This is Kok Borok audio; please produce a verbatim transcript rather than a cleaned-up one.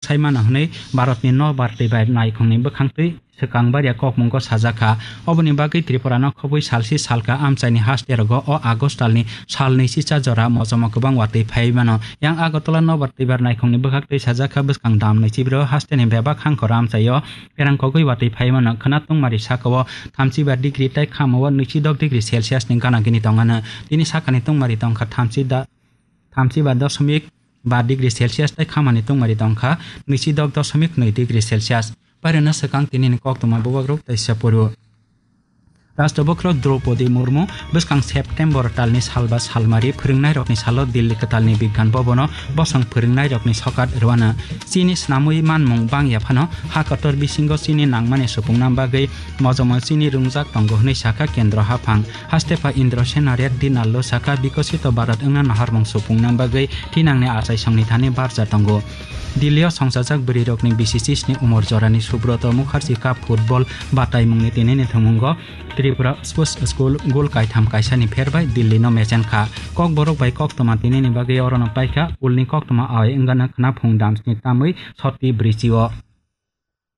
sai mano hwnwi Bharatni nobar twi bai naikhungni bwkhang twi swkang baria kokmungo sajak kha. Oboni bagwi Tripurano khobwi salsi salka amchaini haste rogo o August talni salni sicha jora mojomo kwbang watwi phaiwi mano. Yang Agartala nobar twi bar naikhungni bwkhak twi sajak kha bwskang damni chibiro hasteni bebak hangkhoro amchaio pherang kogwi watwi phaiwi mano. Khwna tungmari sakao thamchi bar degree tei khamao nwichi dok degree Celsius ni gana gini tongano. Tini sakani tungmari tongkha thamchi da, thamchi ba dosmik ba degree Celsius tei khamani tungmari tongkha nwichi dok dosmik nwi degree Celsius. Pairwno swkang tinini koktwma bubagrok tei sepuru. Rashtrapati Draupadi Murmu bwskang September talni salba salmari phwrwngnairokni salo Delhi kwtalni Bigyan Bhabono bosong phwrwngnairokni sokat rwano. Chini snamwi manmung bangya phano ha kotor bisingo chini nangmani supungna bagwi mojomo chini rwngjak tongo hwnwi sakha Kendra haphang. Hastepha Indrasena Reddy Nallo sakha, Bikosito Bharat wngna naharmung supungna bagwi thinangni achaisongni thani barja tongo. Delhi-o songchajak bwrwirokni bisi chisni umor jorani Subroto Mukherjee Cup football bataimungni tinini thwngmungo Tripura Sports School gol kaitham kaisani pherbai Delhi-no mechenkha. Kokborok bai koktwma tinini bagwi orono paikha, kulni koktwma awai wngana khwna phung damsni tamwi soti brichi-o.